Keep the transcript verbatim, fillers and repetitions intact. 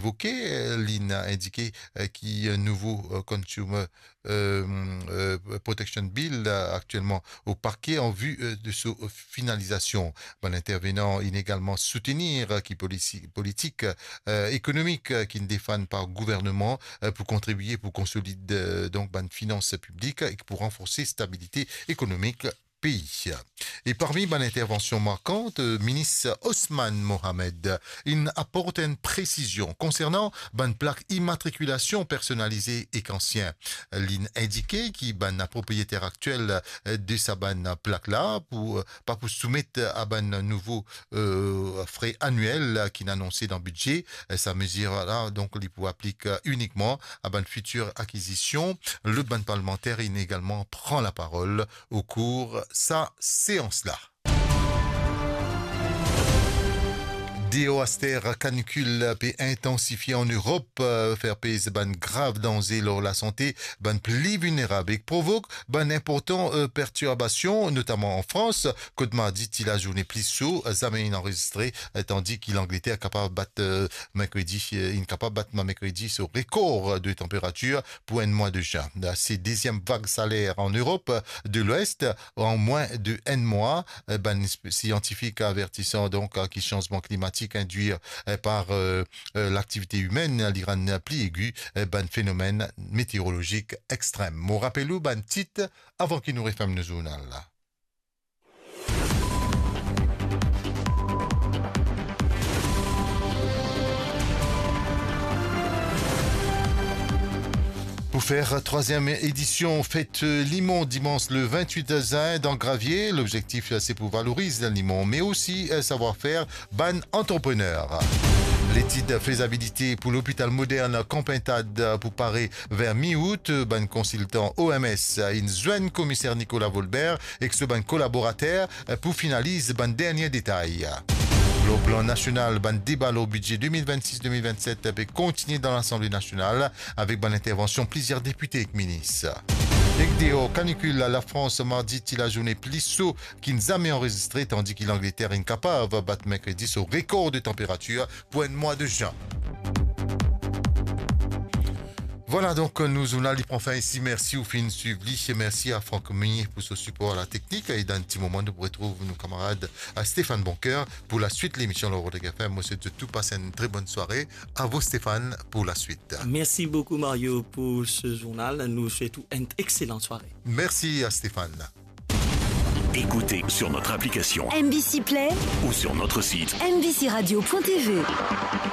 evoke, eh, linn indike, eh, ki, eh, nouvo, eh, Consumer, eh, eh, Protection Bill, eh, aktielman o parke an vi, eh, de so finalizasion. Bann intervenan inn egalman soutenir, eh, ki polisi-, politik, eh, ekonomik, eh, ki'nn defann par gouvernman, eh, pou kontribie pou konsolid, eh, donk bann finans piblik e pou ranforse stabilite ekonomik pei. E parmi bann intervansion markan, eh, minis Osman Mohamed inn aport enn presizion konsernan bann plak imatrikilasion personalize ek ansien. Linn indike ki bann propriyeter aktiel, eh, de sa bann plak la pou, eh, pa pou soumet a bann nouvo, eh, fre aniel ki'nn anonse dan bidze. Eh, sa mezir la, donk, li pou aplik, eh, inikman a bann fitir akizision. Lot bann parlmanter inn egalman pran laparol o kour sa seans la. Deor aster, kanikil pe intansifie an Erop, eh, fer pez bann grav danze lor lasante bann pli vilnerab ek provok bann inportan, eh, pertirbasion, notaman an Frans, kot mardi ti lazourne pli so zame inn anrezistre, eh, tandi ki Langleter kapav bat, eh, merkredi, eh, inn kapav bat merkredi so rekor de tanperatir pou enn mwa de zin. Se deziem vag saler an Erop de Lwes an mwin de enn mwa. Eh, bann sp-, siantifik avertisan donk, eh, ki sanzman klimatik indwi, eh, par, eh, eh, laktivite imenn, li rann pli egi, eh, bann fenomenn meteorolozik extrem. Mo rapel ou bann tit avan ki nou referm nou zournal la. Pou fer trwaziem edision Fet Limon dimans le vintwit zin dan Gravie, lobzektif se pou valoriz limon, me osi, eh, savwar-fer bann antreprener. Letid fezabilite pou lopital modern Kanpintad pou pare ver mi-out. Bann konsiltan O M S inn zwenn komiser Nicolas Volbert ek so bann kolaborater pou finaliz bann dernie detay. Lor plan nasional, bann deba lor bidze de mil vennsis de mil vennset pe kontigne dan Lasanble Nasional avek bann intervansion plizier depite ek minis. Ek deor kanikil, Lafrans mardi ti lazourne pli so ki'nn zame anrezistre, tandi ki Langleter inn kapav bat merkredi so rekor de tanperatir pou enn mwa de zin. Vwala, donk, nou zournal li pran fin isi. Mersi ou finn swiv li. Mersi a Franck Meunier pou so sipor a la teknik. E dan enn ti moman, nou pou retrouv nou kamarad, eh, Stéphane Boncoeur pou laswit lemision lor Rodrigues F M. Mo swet zot tou pas enn tre bonn sware. A vou, Stéphane, pou laswit. Merci beaucoup, Mario, pour ce journal. Nous souhaitons une excellente soirée. Merci à Stéphane. Écoutez sur notre application M B C Play ou sur notre site M B C radio point T V.